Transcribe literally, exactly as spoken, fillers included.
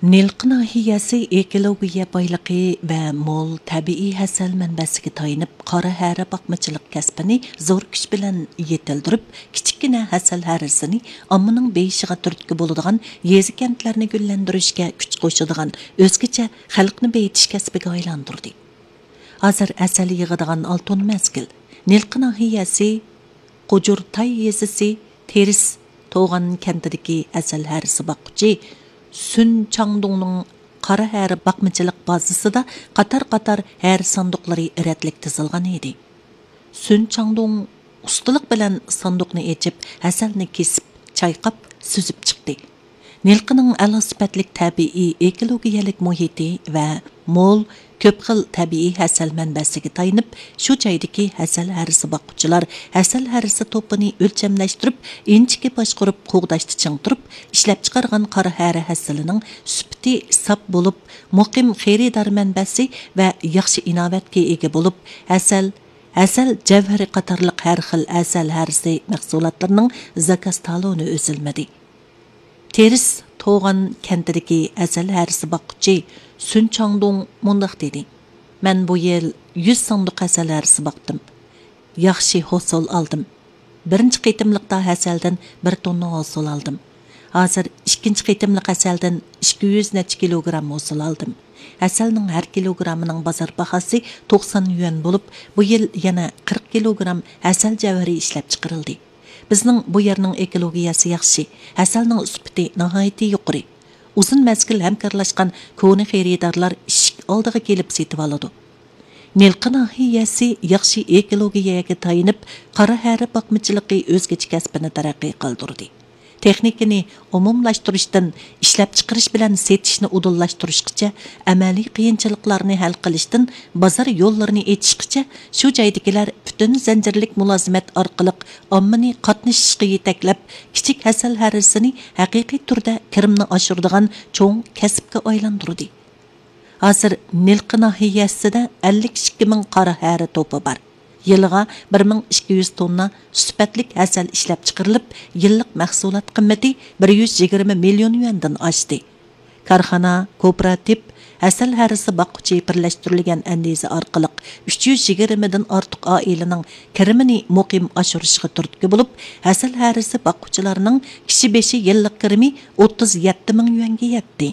نىلقا ناھىيەسى ئېكولوگىيە بايلىقى ۋە مول تەبىئىي ھەسەل مەنبەسىگە تايىنىپ، قارا ھەرە باقمىچىلىق كەسپىنى زور كۈچ بىلەن يېتىلدۈرۈپ، كىچىككىنە ھەسەل ھەرىسىنى ئاممىنىڭ بېيىشىغا تۈرتكە بولىدىغان، يېزا-كەنتلەرنى گۈللەندۈرۈشكە كۈچ قوشىدىغان ئۆزگىچە خەلقنى بېيىتىش كەسپىگە ئايلاندۇردى. ھازىر ھەسەل يىغىدىغان ئالتۇن مەزگىل. نىلقا ناھىيەسى قوجۇرتاي يېزىسى تېرىس توغان كەنتىدىكى ھەسەل ھەرىسى باققۇچى سۈن چاڭدۇڭنىڭ قارا ھەرە باقمىچىلىق بازىسىدا قاتار-قاتار ھەرە ساندۇقلىرى رەتلىك تىزىلغان ئىدى. سۈن چاڭدۇڭ ئۇستىلىق بىلەن ساندۇقنى ئېچىپ، ھەسەلنى كېسىپ، چايقاپ، سۈزۈپ چىقتى. نىلقىنىڭ ئەلا سۈپەتلىك تەبىئىي ئېكولوگىيەلىك مۇھىتى ۋە مول، كۆپ خىل تەبىئىي ھەسەل مەنبەسىگە تايىنىپ، شۇ جايدىكى ھەسەل ھەرىسى باققۇچىلار ھەسەل ھەرىسى توپىنى ئۆلچەملەشتۈرۈپ، ئىنچىكە باشقۇرۇپ، قوغداشتا چىڭ تۇرۇپ، ئىشلەپچىقارغان قارا ھەرە ھەسىلىنىڭ سۈپىتى ساپ بولۇپ، مۇقىم خېرىدار مەنبەسى ۋە ياخشى ئىناۋەتكە ئىگە بولۇپ، ھەسەل، ھەسەل جەۋھىرى قاتارلىق ھەر خىل ھەسەل ھەرىسى مەھسۇلاتلىرىنىڭ زاكاز تالونى ئۈزۈلمىدى. تېرىس توغان كەنتىدىكى ھەسەل ھەرىسى باققۇچى سۈن چاڭدۇڭ مۇنداق دېدى: مەن بۇ يىل يۈز ساندۇق ھەسەل ھەرىسى باقتىم. ياخشى ھوسۇل ئالدىم. بىرىنچى قېتىملىقتا ھەسەلدىن بىر توننا ھوسۇل ئالدىم. ھازىر ئىككىنچى قېتىملىق ھەسەلدىن ئىككى يۈز نەچچە كىلوگرام ھوسۇل ئالدىم. ھەسەلنىڭ ھەر كىلوگرامىنىڭ بازار باھاسى توقسان يۈەن بولۇپ، بۇ يىل يەنە قىرىق كىلوگرام ھەسەل جەۋھىرى ئىشلەپچىقىرىلدى. بىزنىڭ بۇ يەرنىڭ ئېكولوگىيەسى ياخشى، ھەسەلنىڭ سۈپىتى ناھايىتى يۇقىرى. ئۇزۇن مەزگىل ھەمكارلاشقان كونا خېرىدارلار ئىشىك ئالدىغا كېلىپ سېتىۋالىدۇ. نىلقا ناھىيەسى ياخشى ئېكولوگىيەگە تايىنىپ، قارا ھەرە باقمىچىلىقى ئۆزگىچە كەسپىنى تەرەققىي قىلدۇردى. تېخنىكىنى ئومۇملاشتۇرۇشتىن، ئىشلەپچىقىرىش بىلەن سېتىشنى ئۇدۇللاشتۇرۇشقىچە، ئەمەلىي قىيىنچىلىقلارنى ھەل قىلىشتىن، بازار يوللىرىنى ئېچىشقىچە، شۇ جايدىكىلەر پۈتۈن زەنجىرلىك مۇلازىمەت ئارقىلىق ئاممىنى قاتنىشىشقا يېتەكلەپ، كىچىك ھەسەل ھەرىسىنى ھەقىقىي تۈردە كىرىمنى ئاشۇرىدىغان چوڭ كەسىپكە ئايلاندۇردى. ھازىر نىلقا ناھىيەسىدە ئەللىك ئىككى مىڭ قارا ھەرە توپى بار. يىلىغا بىر مىڭ ئىككى يۈز توننا سۈپەتلىك ھەسەل ئىشلەپچىقىرىلىپ، يىللىق مەھسۇلات قىممىتى بىر يۈز يىگىرمە مىليون يۈەندىن ئاشتى. كارخانا، كوپىراتىپ، ھەسەل ھەرىسى باققۇچى بىرلەشتۈرۈلگەن ئەندىزە ئارقىلىق ئۈچ يۈز يىگىرمىدىن ئارتۇق ئائىلىنىڭ كىرىمىنى مۇقىم ئاشۇرۇشىغا تۈرتكە بولۇپ، ھەسەل ھەرىسى باققۇچىلارنىڭ كىشى بېشى يىللىق كىرىمى ئوتتۇز يەتتە مىڭ يۈەنگە يەتتى.